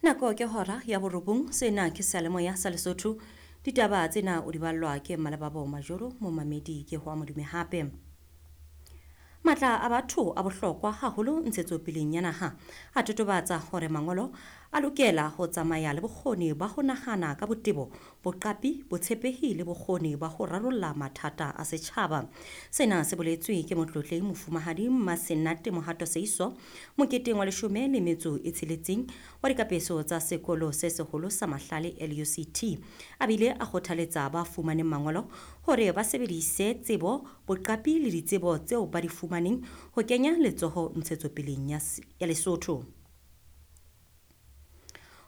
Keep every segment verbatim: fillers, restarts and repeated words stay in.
Nako ke hora ya borobong. Sena ke seyalemoya sa Lesotho. Ditaba tsena o di ballwa ke Malebabo Majoro. Momamedi ke ho Modume hape. Matla a batho a bohlokwa haholo ntshetsopeleng ya naha. A totobatsa hore mangolo a lokela ho tsamaya le bokgoni ba ho nahana ka botebo, boqapi, botshepehi le bokgoni ba ho rarolla mathata a setjhaba. Sena se boletswe ke motlotlehi Mofumahadi Mmasenate Mohato Seiso moketeng wa leshome le metso e tsheletseng wa dikapeso tsa sekolo se seholo sa Mahlale L U C T. A bile a kgothaletsa ba fumaneng mangolo hore ba sebedise tsebo, boqapi le ditsebo tseo ba di fumaneng ho kenya letsoho ntshetsopeleng ya ya Lesotho.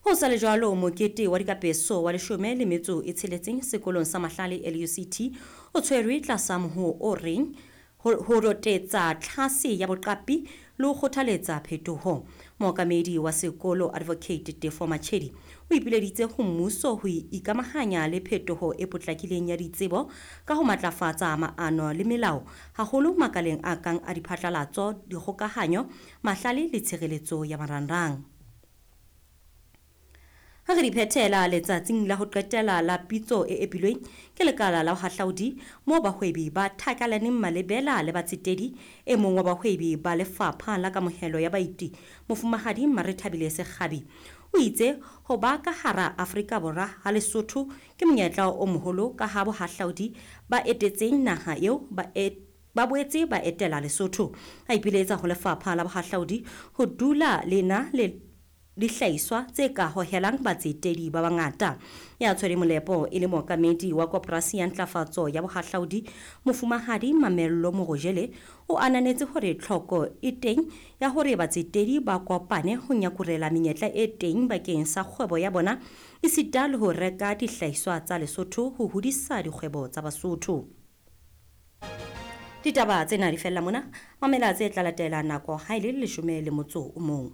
Ho sa le jwalo, mokete wa dikapeso wa leshome le metso e tsheletseng sekolong sa Mahlale L U C T o tshwerwe tlasa mohoo o reng ho rotetsa tlhase ya boqapi le ho kgothaletsa phetoho. Mookamedi wa sekolo Advocate Tefo Machedi o ipileditse ho mmuso ho ikamahanya le phetoho e potlakileng ya ditsebo ka ho matlafatsa maano le melao, haholo makaleng a kang a diphatlalatso, dikgokahanyo, mahlale le tshireletso ya marangrang. Ha re di phethela letsatsing la ho qetela la pitso e epilweng ke lekala la bohahlaudi moo bahwebi ba thakalaneng malebela le batsetedi, e mong wa bahwebi ba lefapha la kamohelo ya baeti Mofumahadi Marethabile Sekgabi o itse ho ba ka hara Afrika Borwa ha Lesotho ke monyetla o moholo ka ha bohahlaudi ba etetseng naha eo ba e ba boetse ba etela Lesotho. A ipiletsa ho lefapha la bohahlaudi ho dula le na le dihlahiswa tse ka hohelang batsetedi ba bangata. Ya tshwere molepo e le mookamedi wa koporasi ya ntlafatso ya bohahlaudi Mofumahadi Mamello Morojele o ananetse hore tlhoko e teng ya hore batsetedi ba kopane ho nyakurela menyetla e teng bakeng sa kgwebo ya bona esita le ho reka dihlahiswa tsa Lesotho ho hodisa dikgwebo tsa Basotho. Ditaba tsena di fella mona. Mamela tse tla latela nako ha e le leshome le motso o mong.